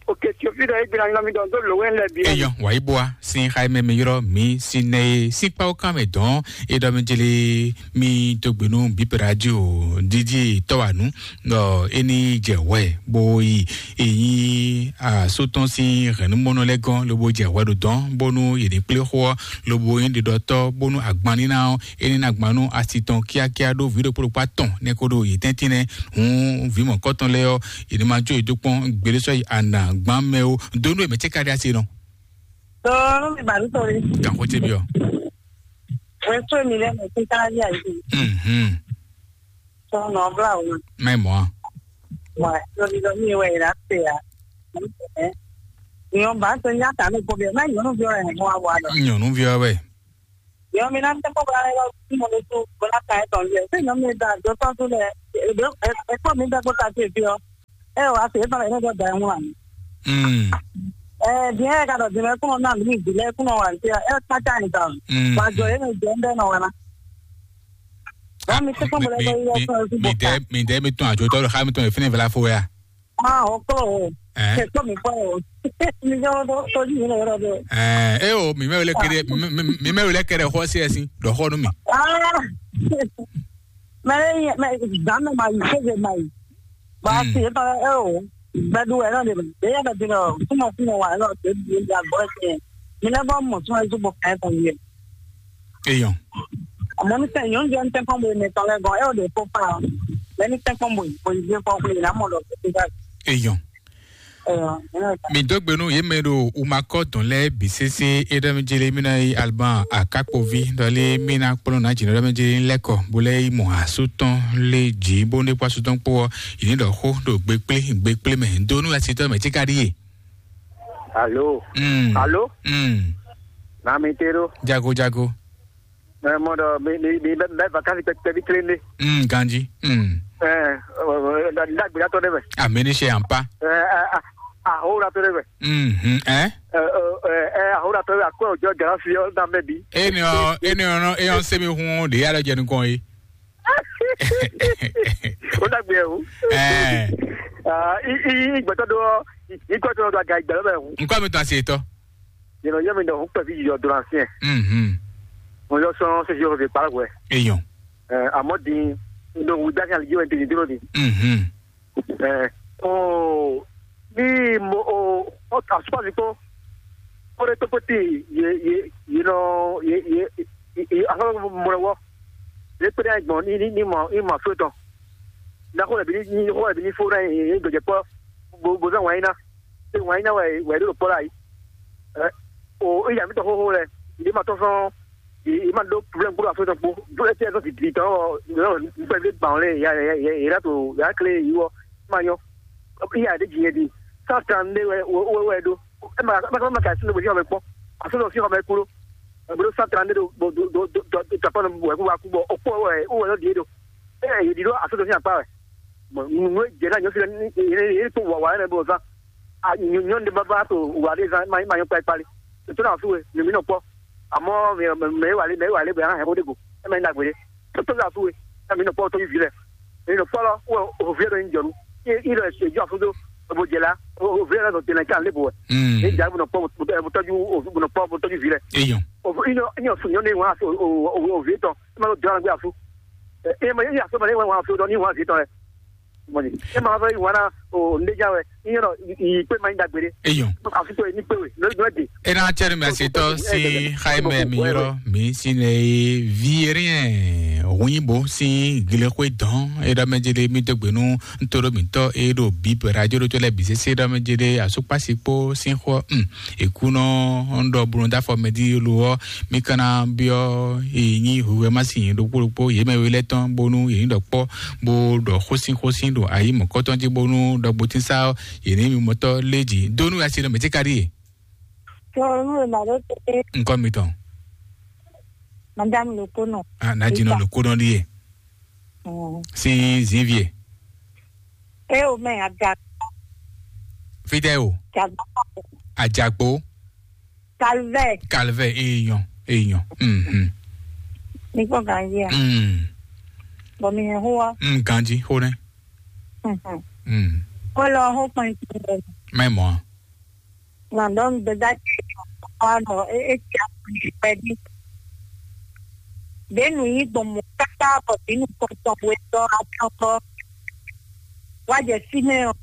Ok, tsofi ɖɔ egbe na nyɔmi ɖɔ do lo wɛn lɛ bi. Eyɔn, wàyí bua sin xayi mɛ mi yrɔ mi sin nɛ ye sin kpawo kan mɛ dɔn. E ɖɔ mi jeli mi dogbe nu bíbɛ radio didi tɔwanu. Ɔ eni jɛ wɛ bo yi eyin asotɔn sin hɛnumɔnɔ lɛ gɔn lobo jɛ wɛ ɖo dɔn bonu yeli kple xo ɔ lobo yin ɖiɖɔtɔ bonu agban nina ɔ eni na gban nu asi tɔn kíákíá ɖo vǐ ɖokpó ɖokpó atɔn nɛ ko ɖo yi tɛntin nɛ. Hun vǐ mɔ̌kɔtɔn lɛ́ɛ ɔ́, yě ní ma jó yě dó kpɔ́n gběɖésɔ yi anǎgbán mɛ ó. Dónú è mɛ cé ka ɖi asi nɔ. Dɔɔnu mi bàbí sori. Gǎnxó ce byɔ́. Wɛn tó mi lɛ mɛ kíkà ní àyè. Mhm. Tɔnɔ bla o. Mɛ mɔ a. Wa lórí lọ mi wɛ ìlà tè a. Ìyọ̀n bá tó ní àtàlù kó bẹ́ẹ̀ má yọ̀nù bí ọ̀rẹ́ ẹ̀ mọ́ àwa lọ. Nyɔnu vyɔ wɛ. Yɔ mi na tɛ kpɔ bla yɔ tí mo lè tó bla ka ɛ tɔn yɛ. Ṣé yọ mi da dɔ tɔ tó lɛ? Ẹ kpɔ mi da kpɔ ta tó ebi ọ. Ẹ wà á fi ẹ tọrọ ẹ ní dọ da ẹ wọn. Mm. Ẹ diẹ ẹ ka dọ diẹ kúnọ náà mi di lẹ kúnọ wà ní ẹ kpata ẹ ta. Mm. Wà jọ ẹ ní jẹ ń bẹ nọ wà ná. Wà mí tẹ kpọ bọlẹ bẹ yọ fún ẹ sí bọ. Mi dẹ mi dẹ mi tún àjò tọrọ xa mi tún ẹ fínẹ fẹlẹ fo ya. Ah, ọkọ o. Ẹ. Ẹ kpọ mi kọ o. Mi jẹ wọn tó tó yìí lọ yọrọ bẹ. Ẹ ẹ o mi mẹ wẹlẹ kẹrẹ mi mẹ wẹlẹ kẹrẹ xọ sí ẹ sí dọ xọ nú mi. Ah. Mɛ mɛ dan mɛ ma yi sege ma yi. Ba si e tɔn e o gbɛdu wɛ nɔ de e yɛ bɛ di nɔ sumɔ sumɔ wa nɔ de di e di agbɔ e tiɲɛ. Mi lɛ bɔ mɔ sumɔ ezu bɔ kɛ tɔn yɛ. Eyɔn. Mɔ mi sɛ nyɔnu jɛ n tɛ kɔn bo ne tɔn lɛ gɔn e o de ko pa. Mɛ ni tɛ kɔn bo bo yi kɔ ko yi na mɔ lɔ ko ti ka. Eyɔn. Mi dó gbe nú yě mɛ ɖo umakɔ dɔn lɛ́ɛ bǐ sésé é ɖɔ mí jélé mí ná yi alban akákpoví ɖɔlé mí ná kplɔ́n ná jǐnɔ ɖɔ mí jélé lɛ́kɔ bó lɛ́ yi mɔ asú tɔn lé jǐ bó ní kpó asú tɔn kpó ɔ́ yě ní ɖɔ xó ɖo gbe kplé gbe kplé mɛ dó nú asitɔ mɛ tí ka ɖíe. Alo. Mm. Alo. Mm. Nami te ɖo. Jago jago. Ɛ mɔ ɖɔ mi mi mi bɛ bɛ vakansi kpɛkpɛ bi kelen de. Mm, ganji. Mm. Ɛ ɛ ɛ dagbeɖatɔ ɖe mɛ. Ameni se ampa. Ɛ ɛ ahoɖatɔ ɖe mɛ. Mm, ɛ. Ɛ ɛ ɛ ahoɖatɔ ɖe akwɛ òjɔ galafi ɔ na mɛ bi. Eni ɔ eni ɔ nɔ eyɔn semi hun de ya lɔ jɛ nukɔn ye. O dagbe o. Ɛ. I i i gbɛtɔ do ɔ i gbɛtɔ do aga igbɛ lɔ bɛ hun. Nkɔ mi tɔn se tɔ. Yɛn nɔ yɔ mi ɖɔ hun kpɛvi yɔ do na fiɛ. Mhm. Mo yɔ sɔn sisi yɔ fi kpala wɛ. Eyɔn. Ɛ amɔ din n ɖo wu dasi ali ji wɛ n tɛni dúró ni. Mhm. Ɛ o ní mo o o asopasi kpó. Ó ɖe tó kpótì yé yé yé nɔ yé yé yé asopasi mo lɛ wɔ. Yé kpé ɖe gbɔn ní ní ní mɔ ní mɔ afló tɔn. Ní xó lɛ bi ní xó lɛ bi ní fó ɖe yé gbɛjɛ kpɔ. Bo bo zan wɛn iná. Ṣé wɛn iná wɛ wɛ ɖo kpɔ la yi? Ɛ o ìyá mi tɔ xóxó lɛ. Ìdí ma tɔ sɔn. Ì ma ɖó problème kúrò afló tɔn kpó. Dó ɛ tɛ sɔn ti di tɔn ɔ. Nípa ìdí gbà wọn lé yà yà yà yà tó yà kle yìí wọ. Ma nyɔ. Ìyá de jìnyɛ di. Cent trente-deux wɛ wɛ wɛ ɖó. Ɛ ma ma ma ka sínú bòsí ɔmɛ kpɔ. Afló tɔn sí ɔmɛ kúrò. Ɛ bolo cent trente-deux do do do do do do tɔpɔ nɔ wɛ kú wa kú bɔ ɔkpɔ wɛ wɛ lɔ di do. Ɛ yìí di do afló tɔn sí akpa wɛ. Nunu e jɛ na nyɔ fi lɛ ni yɛ ni kpɔ wa wa yɛ bɔ zan. A nyɔ nyɔ de baba to wa de zan ma ma nyɔ kpa kpali. To na su we mi mi nɔ kpɔ. Amɔ mɛ mɛ wa le mɛ wa le bɛ an hɛ ko de go. E mɛ na gbe de. To to na su we. E mi nɔ kpɔ to vi lɛ. Mi nɔ kpɔ lɔ o o vi lɛ do ni jɔnu. I i lɛ se jɔ afudo. O bo jɛ la o o vi lɛ do tɛnɛ kan le bo. Mm. E ja bo nɔ kpɔ bo tɔju o bo nɔ kpɔ bo tɔju vi lɛ. Eyɔn. O vi i nɔ i nɔ su nyɔ ne wa o o o vi tɔn. E ma lo jɔ na gbe afu. E ma yi aso ma ne wa wa afu dɔ ni wa vi tɔn lɛ. Mɔni e ma fɛ wana o ndeja wɛ i yɔrɔ i kpe ma yi dagbere. Eyɔn. Afi to ni kpe we no no de. E na cɛ mi asetɔ si xayi mɛ mi yɔrɔ mi si ne ye vi rien hunyibó si gilexwe dɔn e ɖɔ mɛ jele mi dɔgbe nu ntoro mitɔ e ɖo bip radio ɖo to lɛ bi sese ɖɔ mɛ jele asukpasi kpo si xɔ um ekunɔ ŋdɔ bunu dafɔ mɛ di lo ɔ mi kana biɔ e nyi huhɛ ma si ɖokpo ɖokpo ye mɛ we lɛ tɔn bonu ye nyi ɖɔ kpɔ bo ɖɔ xósin xósin ɖo ayi mɔ̌kɔtɔn jí bónú ɖɔgbotínsá ɔ́ yě ní mimɔtɔ́ lé jǐ dó nú asi nɔ mɛ̌ tí ka ɖíe. Tɔnu e ma ɖo te. Ŋkɔ mitɔn. Madame Lokono. Ah, nadinɔ Lokono ɖíe. Mm. Sin zinvie. E o mɛ ada. Fitɛ o. Jagba. Ajagbo. Calvaire. Calvaire, èèyàn, èèyàn. Mhm. Ní kò gán yé a. Mm. Bọ̀ mi yẹn hó wa. Mm, ganji, hó nẹ. Mhm. Mm. Kó lọ hó pọn ìpín rẹ̀. Má mɔ a? Nà ɖɔ nǔgbɛ́dá ce ɔ́ nɔ é é cia kpɛɖí. Ɖě nǔ yí gbɔn mɔ̌ káká bɔ vǐ nukɔn tɔn we tɔ́ atɔ́kɔ wá jɛ fínɛ́ ɔ́,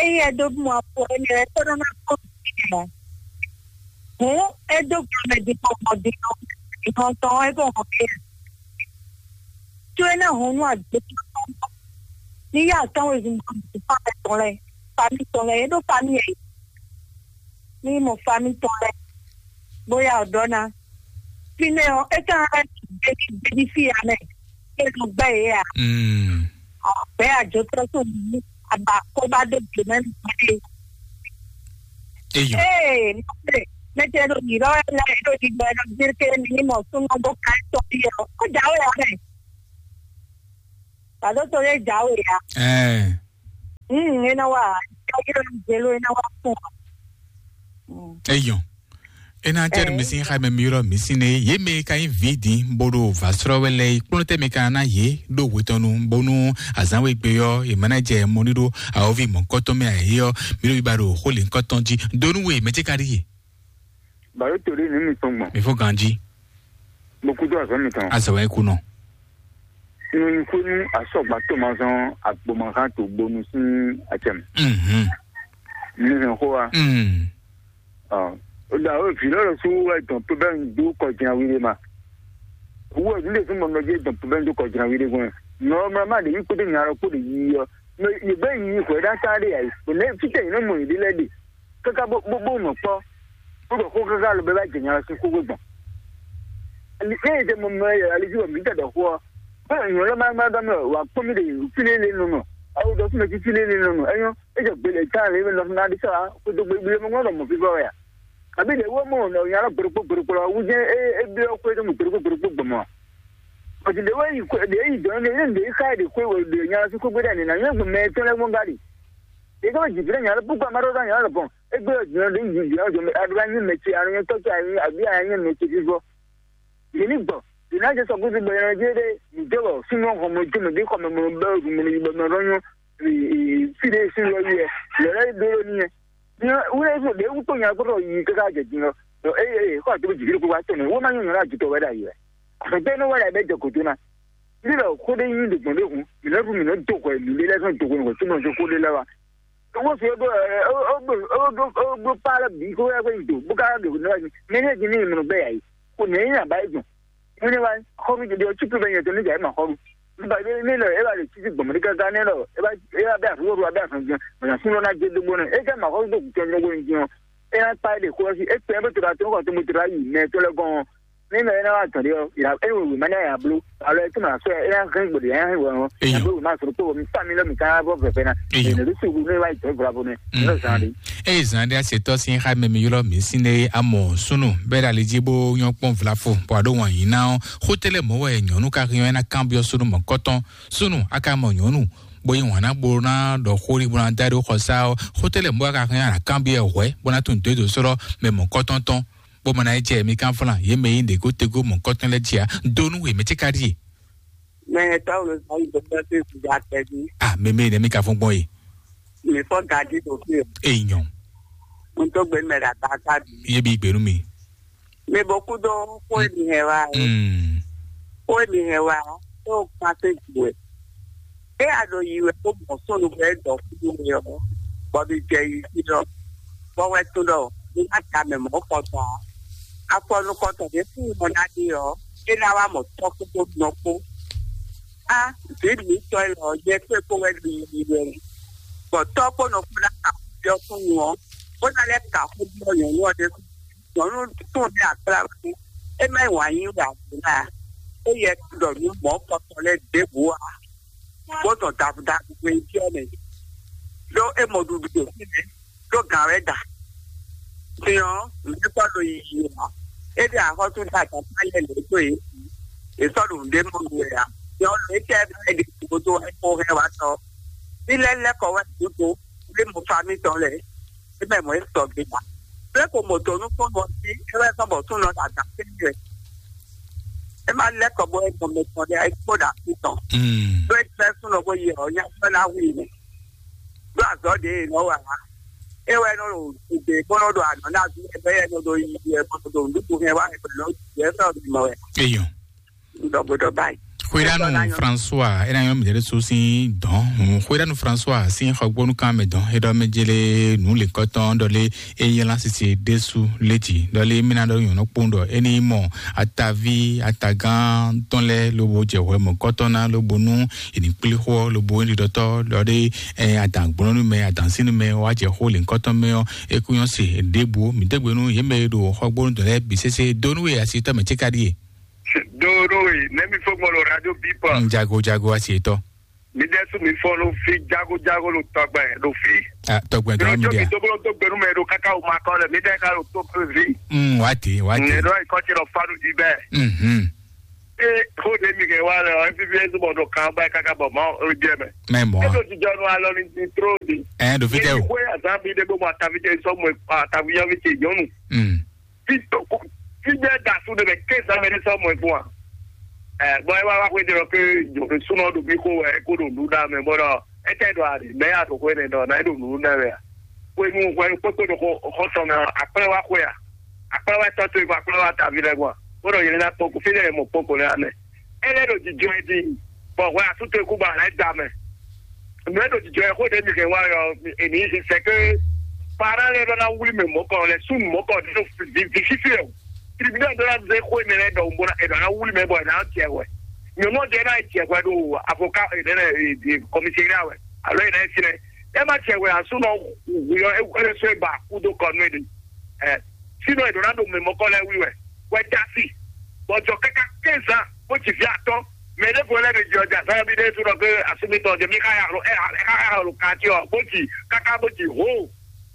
ényí é dó mɔ afɔ énɛ́ ɔ́, é kó nɔ ná kpɔ́n vǐ ɔ́. Hǔn é dó gblɔ mɛ din kpɔ́n gbɔn din ɔ́, din ɔ́ tɔn ɔ́, é kó hɔn kɛ. Có é ná hɔn nú agbe ní yá atɔ́n wezun gbɔn fámɛ tɔn lɛ́ɛ, fami tɔn lɛ́ɛ, é ɖó fami ɛ. Ní mɔ fami tɔn lɛ́ɛ, bóyá ɔ́ ɖɔ ná. Fínɛ́ ɔ́, é ka hɛn gbéjí gbéjí fí ya mɛ, é nɔ gbɛ́ yě a? Mm. Bɛ́ àjotɔ́ tó mǐ, àbá kó bá dó gbě mɛ nú gbé. Eyɔ. Ee, mɔ̌ mɛ tɛ ɖo yǐ lɔ wɛ lɛ́ɛ ɖo ɖigbɛ ɖo gbérké ní mɔ súnmọ́ bó ka tɔ́ yɛ ɔ́, ó jǎwe ǎ mɛ. Pàdó to lé jǎwe ǎ. Ɛɛ. Mm, é ná wá, é ná wá fún wa. Mm. Eyɔ. Ena tɛ mi sin xa mɛ mi yɔrɔ mi sin ne ye mɛ ka yin vi din bodo va srɔ wɛ lɛ kplɔn tɛ mi ka na ye do wetɔnu bonu azan we gbe yɔ ye mana jɛ mɔni do awovi mɔ kɔtɔn mɛ ayi yɔ mi do ba do xo le kɔtɔn ji donu we mɛ tɛ ka di ye. Baro to ɖe nu mi tɔn gbɔn. Mi fo ganji. Mo kudo azɔ mi tɔn. Azɔ wɛ kunɔ. Nunyikwenu asɔgba tomazɔn agbomazan to bonu sin acɛm. Mhm. Mi hɛn xo wa. Mm. Ɔ, o da o vi lɔ su wɛ dɔn pe bɛ do kɔjina wi de ma. Wo ni de fun mɔ nɔ je dɔn pe bɛ do kɔjina wi de gbɔn. Nɔ ma ma de yi kpede nya lɔ kpode yi yɔ. Mɛ yi bɛ yi hwɛ da ta de ayi. O ne fitɛ yi ne mɔ yi de lɛ de. Kaka bo bo bo nɔ kpɔ. Ko do ko kaka lo bɛ ba jɛ nya lɔ si ko gbɔn. Ni e de mɔ mɛ ya ali ju mi ta da ko. Ba nyo lɔ ma ma da mɛ wa kpɔ mi de fili le no no. Awu dɔ fun mi fili le no no. Enyo. Eja gbele ta le me lɔ na di sa ko do gbele mo ngɔ mo fi ba ya. Abi de wo mo no ya lo gbere gbere gbere wu je e e bi o ko de mo gbere gbere gbere gbɔn mo. Ɔtí ɖe wɛ yi kwe ɖe yi dɔn ne ne ɖe yi xa ɖe kwe wɛ ɖe nya lɔ si kwe gbe ɖe ne na nyɛ gbɔn mɛ tɔn lɛ gbɔn gari. Ɖe ka wɛ jivire nya lɔ pukpa ma ɖo ɖa nya lɔ bɔn egbe ɔ jivire ɖe yi jivire ɔ jɔmɛ aɖo anyi mɛ ce anyi tɔ ce anyi abi anyi mɛ ce vivɔ. Yeni gbɔ yena jɛ sɔgbe si gbɔ yena jɛ ɖe mi jɛ wɔ sunu xɔmɔ jɔmɛ ɖe xɔmɛ mɔ bɛ mɔ yi bɛ mɛ ɖɔ nyɔ fi ɖe si lɔ yi ɛ lɛ lɛ ɖo ni ɛ. Wúlò ìfò ɖě wúkpó nya kpótó yi káká jɛ din ɔ́, ɖɔ éyɛ́ xɔ àtúntò jìbìrì kó wá tɔnɔ wó má nyɔ́ nyɔ́ ná jìtɔ wɛ ɖ'ayǐ wɛ. Àfɛ̀gbẹ́ inú wɛ ɖ'ayǐ bɛ jɛ gǒdo ná. Bí ɖɔ xó ɖé nyí ɖo gbɔn ɖé hǔn, mǐ nɔ́ ɖu mǐ nɔ́ dó hwɛ mǐ ɖé lɛ́ɛ zɔn dó hwɛ nǔgbó súnmọ́ dó xó ɖé lɛ́ɛ wá. Owó fi ó ɖó ɛ ó ó ó ó ó kpá lɛ́ bǐ kó wɛ kó nyi do bó ká ɖo nǔ wɛ mɛ ní jí ní mǐ nɔ bɛ yà yìí. Kò ní nyí àbá yìí dùn. Wọ́n ní wá xɔnu jẹjẹ ọtí tó bẹ yẹn tó ní jàyé mà xɔnu. Nígbà tí ní lọ ẹ bá lè títí gbọ̀mọ̀dé gángan ní lọ ẹ bá ẹ bá bẹ àfúrò ẹ bá fún jẹ ọ̀nà súnlọ́ náà jẹ dógbó náà ẹ jẹ́ mà xɔnu tó kù tẹ́ ní owó ní jẹun. Ẹ yà pa ẹ lè kó ẹ sí ẹ pẹ́ ẹ bẹ tó ra tó kàn tó mo tó ra yìí mẹ tó lẹ gan. Ní lọ ẹ náà wà tàn dé ọ ìlà ẹ wò wò má ní àyà bló àlọ́ ẹ tó mà sọ ẹ yà hẹ́n gbòdì ẹ yà hẹ́n wọ̀ ẹ yà bló má sọ pé wọ́n mi fà mí lọ́mì ká bọ́ fẹ̀fẹ́ náà ẹ nà ló sì wù ní wá ìtọ́ ìfura bó ní ní lọ sàn án dé. Eye zan ɖe asetɔ sin xa mɛ mi ylɔ mi sin ne amɔ sunu bɛ ɖe ali dzi bo nyɔ kpɔn vlafo bɔ aɖo wɔn yi na ɔ xotele mɔ wɛ nyɔnu ka hiɔ ena kan biɔ sunu mɔ kɔtɔn sunu aka mɔ nyɔnu bo yi wɔn na bo na ɖɔ xori bo na da ɖo xɔsa ɔ xotele mɔ wɛ ka hiɔ na kan biɔ hwɛ bo na tun dodo sɔrɔ mɛ mɔ kɔtɔn tɔn bo mɔ na yi jɛ mi kan flan ye mɛ yi ɖe go tego mɔ kɔtɔn lɛ dzia donu we mɛ tse ka ɖi. Mɛ tɔwlo sa yi dɔkítà tó ìkúdà tẹ́bí. Ah, mɛmɛ ne mi ka fún gbɔn ye. Mi fɔ gadi ɖo fi o. Eyi nyɔ. N tó gbé mɛ ɖa ta ta bi. Ye bi gbenu mi. Mi bɔ kú dó kó èmi hɛn wa. Mm. Kó èmi hɛn wa tó kpán tó ju wɛ. É a ɖo yi wɛ kó mɔ sónu bɛ dɔ kúdú mi ɔ. Bɔ mi jɛ yi sí lɔ. Bɔ wɛ tún ɖɔ mi má ta mɛ mɔ kɔtɔn. Afɔnukɔtɔn ɖé fún mɔ ná ɖe ɔ. É ná wá mɔ tɔ́ kpókpó nɔ kpó. Á, vǐ mǐtɔn élɔ́ ɔ́, nyɛ kpé kpó wɛ ɖo yiyi wɛ. Bɔ tɔ́ kpó nɔ kpó ná ka xó byɔ́ súnnu ɔ́, bó ná lɛ́ ka xó byɔ́ nyɔ̌nu ɔ́ ɖésú. Nyɔ̌nu tún ɖé akplá wɛ é má yi wǎn yí wɛ ǎ. É yɛ ɖɔ nǔ mɔ̌ kɔtɔn lɛ́ɛ ɖěbǔ ǎ. Bó dɔn davudavu hwe byɔ́ mɛ. Ɖó é mɔ ɖuɖu ɖo fínɛ́. Ɖó gǎn wɛ da. Din ɔ́, nǔɖé kpɔ́ ɖo yiyi ǎ. É ɖe axɔ́sú ɖe adǎtá lɛ́ɛ lě dó yě. È sɔ́ ɖo nǔɖé mɔ nú wɛ ǎ. Din ɔ́, lě tɛ́ é ɖe gǔdo wɛ kó hɛn wá tɔ. Ní lɛ́ lɛ́ kɔ wɛ gǔdo, lé mo fa mítɔn lɛ́ɛ. É mɛ mɔ̌ é sɔgbe ǎ. Lé ko mɔ dɔ̌ nú kpɔ́n ɔ́ jí, é wɛ sɔ́ bɔ súnnu ɔ́ ɖo adǎ kpé wɛ. É má lɛ́ kɔ bó é mɔ mɛ tɔn lɛ́ɛ, é kpó ɖo asú tɔn. Ɖó é jlɛ́ súnnu ɔ́ bó yi ɔ́, nyá sɔ́ ná hu i mɛ. Ɖó azɔ̌ ɖě è nɔ wa ǎ. É wɛ nɔ ɖo gbe kpɔ́n nɔ ɖo anɔ ná bí ɛ bɛ yɛ nɔ ɖo yi ɛ kɔn ɖo nǔɖuɖu hɛn wá ɛ kɔn ɖo yɛ fɛ ɔbí mɔ wɛ. Eyɔn. Ɖɔ gbɔdɔ báyìí. Xwéɖánu François, é ná nyɔ́ mǐ ɖésú sín dɔ̌n. Xwéɖánu François sín xɔgbónúkan mɛ dɔ̌n, é ɖɔ mɛ jélé nǔ lěkɔ́tɔn ɖɔ lé é nyí lásìsì ɖésú létí. Ɖɔ lé mí ná ɖɔ nyɔ̌nɔ kpowun ɖɔ é ní mɔ ataví atagán tɔn lɛ́ɛ lobo jɛ hwɛ mɔ̌kɔtɔn ná lobo nú è ní kplé xó ɔ́, lobo é ɖiɖɔtɔ́ ɖɔ ɖé ɛ adǎngbɔ́nɔ́númɛ adǎnsínúmɛ wá jɛ xó lěkɔ́tɔn mɛ ɔ́, é kú nyɔ́ se ɖěbǔ. Mǐ dégbe nú yě mɛ e ɖo xɔgbónú dɔ̌n lɛ́ɛ bǐ sésé dó nú we asi tɔ́ mɛ céka ɖíe. Donu e nɛmi fo gbɔn lo radio bipa. Jago jago asi etɔ. Mi dɛ su mi fɔ lo fi jago jago lo tɔgbɛ lo fi. Ah, tɔgbɛ dɔ mi dia. Mi to bolo to gbenu mɛ do kaka o ma kɔ lɛ mi dɛ ka lo to pe vi. Mm, wati wati. Ne do ikɔ ti lo fanu di bɛ. Mhm. E ko de mi ke wa lɛ o F B S bɔ do kan ba kaka bɔ ma o jɛ mɛ. Mɛ mɔ. E do ti jɔ no alɔ ni ti tro di. Ɛ do fi tɛ o. Ko ya za bi de bo ma ta vi te so mo ta vi ya vi te nyɔnu. Mm. Fi to ko fi de da su de bɛ ke za mɛ de so mo e fun a. Ɛ bɔn e wa wa ko de lo ke jo ke sunɔ do bi ko wɛ ko do nu da mɛ bɔ dɔ e tɛ do a de mɛ ya do ko ne dɔ na e do nu da mɛ a. Ko nu ko ko ko do ko ko tɔ mɛ akplɛ wa ko ya. Akplɛ wa tɔ to ko akplɛ wa ta vi lɛ bɔ. Ko do yele na kpɔkɔ fi lɛ mo kpɔkɔ lɛ amɛ. E lɛ do jijɔ e di. Bɔn hwɛ asú to e kú ba lɛ da mɛ. Mɛ ɖo jijɔ yɛ xó ɖe mi kɛ wá yɔ èmi sɛ ke para lɛ ɖɔ na wuli mɛ mɔkɔ lɛ sun mɔkɔ ɖo vi fifi o. Tribunal ɖɔ na ze xó ne lɛ ɖɔ bo na e ɖɔ na wuli mɛ bɔ e na jɛ wɛ. Nyɔnu ɔjɛ na jɛ wɛ ɖo avocat e ne lɛ commissaire wɛ alo e na e si lɛ e ma jɛ wɛ asu nɔ wuyɔ e e sɔ e ba kudo kɔ nu e ɖe. Ɛ sinɔ e ɖo na ɖo mɛ mɔkɔ lɛ wuli wɛ wɛ dasi bɔjɔ kaka quinze ans bó ci vi atɔn mɛ ɖe vo lɛ mi jɔ ja fɛ mi ɖe sunɔ ke asumi tɔ jɛ mi ka ya lo ɛ ɛ ka ya lo kati ɔ bó ci kaka bó ci ho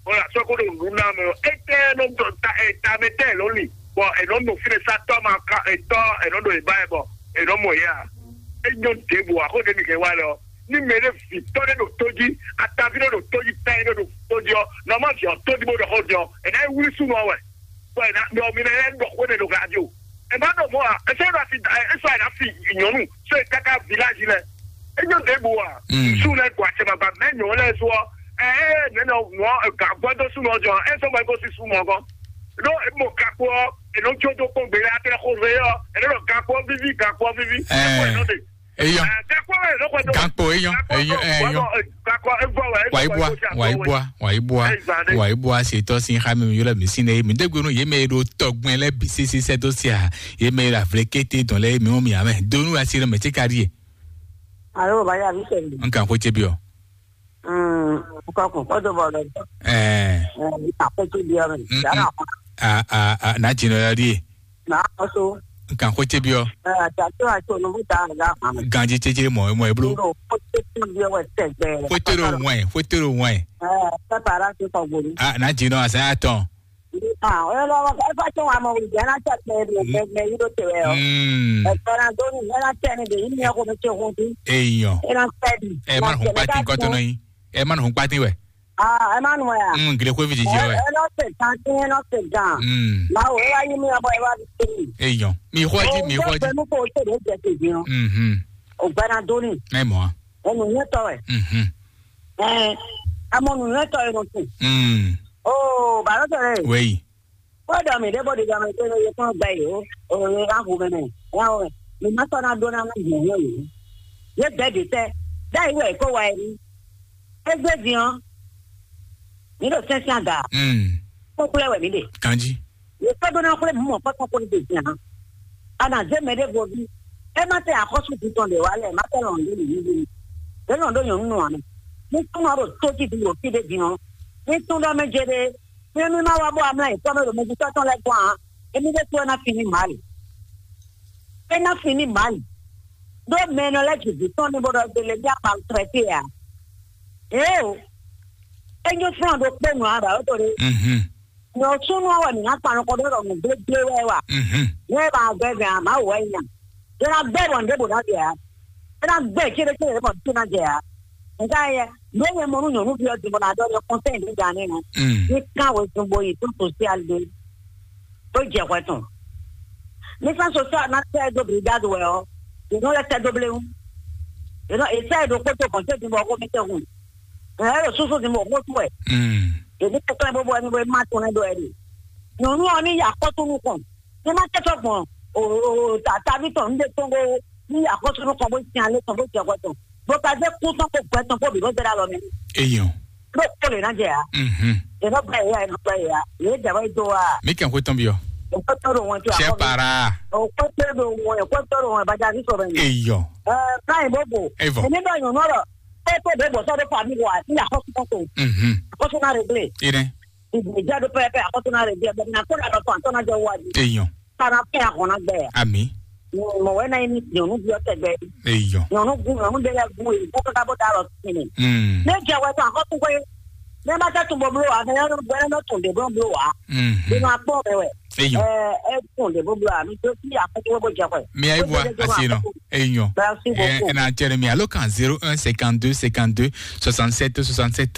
o la sɔ ko ɖo nu na mɛ o etɛ nɔ dɔ ta ɛ ta mɛ tɛ lɔ li bɔ ɛ nɔ nɔ fi ne sa tɔ ma ka etɔ ɛ nɔ ɖo eba yɛ bɔ ɛ nɔ mɔ ya e nyɔ ɖebu a ko ɖe mi kɛ wa lɛ ɔ ni mɛ ɖe vi tɔ ɖe ɖo to ji atavi ɖe ɖo to ji ta ɖe ɖo to ji ɔ nɔ ma vi ɔ to ji bó ɖɔ xɔ ji ɔ ɛ na yi wuli sunɔ wɛ. Bɔn ɛ na mɛ ɔ mi na yɛ ɖɔ xó ne ɖo radio. Ɛ ma ɖɔ mɔ a ɛ sɛ ɖo asi da ɛ sɔ ɛ na fi nyɔnu sɔ ɛ kaka village lɛ. E nyɔ ɖe bo a. Su lɛ gbɔ atsɛ ma ba mɛ nyɔ lɛ so ɔ. Ɛ ɛ nɛ nɔ nɔ ga gbɔ do su nɔ jɔ ɛ sɔ ma ko si su mɔ gɔ. Ɖo e mɔ gakpo ɔ e nɔ tso do kpɔn gbe lɛ atɛ xo ve ɔ ɛ nɔ gakpo vivi gakpo vivi. Ɛ kɔ ɛ nɔ de. Eyɔ. Gakpo ɛ nɔ kɔ do. Gakpo eyɔ eyɔ eyɔ. Gakpo e gbɔ wɛ. Wàyíbúa wàyíbúa wàyíbúa wàyíbúa ṣètò sí xami mi yọlẹ mi sí ne mi dégbénu yé mẹ ɖo tọgbọn lẹ bí sisi sẹtọ sí a yé mẹ ɖo avlẹ kété dɔn lẹ mi wọn mi amẹ donu asi lẹ mẹ tí ka di yẹ. Alo bàbá yà mí sẹ̀yìn. N kàn kó tse bi ọ. Kọkùn kó tó bọ̀ lọ. Ẹẹ. Àkótó bi ọ mi. Yàrá kan. A a a n'a jìnnà yọ di. N'a kó so. N kàn kó tse bi ọ. Ẹ àti àti àti olùkú ta àgbà kan. Ganji tse tse mọ ẹ mọ ẹ blo. Nínú kó tse tse bi ọ wẹ tẹgbẹ. Kó tẹ ló wọ̀n ẹ kó tẹ ló wọ̀n ẹ. Ẹ pẹpẹ ara ti kọ gbòòrò. A n'a jìnnà àṣà yà tán. Ah, ẹ lọ ẹ fẹ́ tó wà mọ ìjẹ́ láti ẹ̀pẹ́ rẹ̀ gbẹgbẹ yìí ló ti rẹ̀ ọ́. Ẹ̀pẹ́ náà tó ní ẹ láti ẹni dè yìí ní ẹkọ mi ṣe ohun tí. Èèyàn. Ẹ náà fẹ́ di. Ẹ má nù hún pátì nǹkan tó náà yín. Ẹ má nù hún pátì wẹ̀. Ah, ẹ má nù ẹ̀ à. Mm, gile kó fi jìjì ọ ẹ. Ẹ lọ sè kan tí ẹ lọ sè gan. Mm. Báwo ẹ wá yí mi ọmọ ẹ wá fi ṣe mi. Èèyàn. Mi kọ́ jí mi kọ́ jí. Ó gbẹnu kó o ṣe lè jẹ tèmi o. Mhm. Ò gbẹna dóní. Ẹ mọ̀ á. Ẹnu yẹn tọ ẹ. Mhm. Ẹ ẹ mọ nù yẹn tọ ẹ nù sùn. Mm. Ó bàrọ̀ tẹ̀lé. Wẹ́yì. Kódà mi ɖé bó ɖi ɖɔ mi pé lóye kún gbɛ yìí ó òye wá hu mɛ mɛ wá hu mɛ mi má sɔ́ ná ɖó ná má yìí yìí yìí yé bɛ́ ɖi tɛ́ dá yìí wɛ kó wa yìí égbé din ɔ́ mi ɖo sɛ́nsɛ́n aga kpókplɛ́ wɛ mi ɖe Kanji. Yě sɔ́ ɖó ná xwlé mǔ mɔ̌kpɔ́kpɔ́ kó ní ɖe din ǎ. A nǎ zé mɛ ɖěvo ví é má tɛ axɔ́sú din tɔn ɖě wá lɛ má tɛ lɔn ɖé nǔ yíyí. Ɖě lɔn ɖó nyɔ̌nu nɔ ǎ mɛ. Ní súnmọ́ ɖo tó jí din ɖo fí ɖé din ɔ́, ní tún ɖɔ mɛ jɛ ɖé Mímí má wá bó amlá nyǐkɔ mɛ ɖo mɛjitɔ́ tɔn lɛ́ɛ gɔ́n ǎ. Émí ɖésú wɛ ná fin ní mǎ lě. É ná fin ní mǎ lě. Ɖó mɛ e nɔ lɛ́ ji vǐ tɔn ní bó ɖɔ gbele ní amaltrɛtée ǎ. Éeǒ, é nyí flán ɖokpó nǔ ǎ ɖɔ é to ɖé. Nyɔ súnnu ɔ́ wɛ mǐ ná kpan nukɔn ɖó ɖɔ nǔgblégbé wɛ wa. Nyɛ ba gbɛ vɛ̌ ǎ, Mawu wɛ nyí a. É ná gbɛ́ bɔ nǔɖé bǒ ná ɖe ǎ. É ná gbɛ́ céɖécéɖé bɔ nǔ ná jɛ ǎ. Nka yɛ, nú nyɛ mɔ nú nyɔ̌nuví ɔ́ din bɔ ná ɖɔ nyɛ kɔnsɛ́ ɖě gǎn nɛ́ nɔ. Ní kán wezun bo yi tó sosial ɖé. Tó jɛ hwɛ tɔn. Ní sán sosial ná tɛ dó brigade wɛ ɔ́, yě nɔ lɛ tɛ dó bléwún. Yě nɔ èsɛ ɖokpó tó kɔnsɛ́ din bɔ xó mi tɛ hun. Ɛ ɛ ɖo súsú din bɔ xó sú wɛ. Ɖevi kɛkɛ bó bɔ ɛni bó ma tún nɛ ɖo ɛni. Nyɔnu ɔ ní ya kɔtunu kɔn. Ní ma tɛ sɔ gbɔn o o o ta tavi tɔn ní ɖe tɔn bó ní ya kɔtunu kɔn bó tiɲɛ alé tɔn bó jɛ kɔ tɔn. Bó ka dé kú tɔn kó gbɛ tɔn kó bǐ bó dé ɖe alɔ mɛ. Eyɔn. Ló kó lè ná jɛ ya. Mhm. Ènɔ bá yà ènɔ bá yà. Yé jàmbá yìí tó wa. Mi kàn kó tán bí ọ. Òkú tó ló wọn tó Ṣé àkọ́bí. Para? Òkú tó ló wọn òkú tó ló wọn ìbàjá sí sọ̀rọ̀ yìí. Eyọ. Ẹ káyìn bó bò. Evọ. Èmi bá yàn nọ́rọ̀. Pé tó bẹ́ẹ̀ bọ̀ sọ́dọ̀ fàmí wà sí àkọ́sí kọ́tò. Mhm. Àkọ́sí náà rẹ̀ gbé. Ine. Ìgbìjà ló pẹ́ẹ́pẹ́ àkọ́sí náà rẹ̀ gbé. Ẹgbẹ́ mi náà kó dàdọ̀ fún àtọ́nájọ́ wájú. Eyọ. Kana fẹ́ àkọ́nà gbẹ. Ami. Mọ̀ wẹ́ náà ní nyɔnu bí ɔtɛ gbɛ. Eyɔ. Nyɔnu gun nyɔnu de lɛ gun yi kó kaka bó da lɔ tini. Mm. Ne jɛ wɛ tɔn akɔtu koe. Ne ma tɛ tun bɔ blo wa, ne yɔ bɔ ne tun de bɔ blo wa. Mhm. Bino akpɔ bɛ wɛ. Eyɔ. Ɛ ɛ tun de bɔ blo wa, mi to si akɔtu bɔ jɛ kɔɛ. Mi ayi bɔ asi nɔ. Eyɔ. Merci beaucoup. Ɛ na cɛ mi alo kan zéro un cinquante-deux cinquante-deux soixante-sept soixante-sept.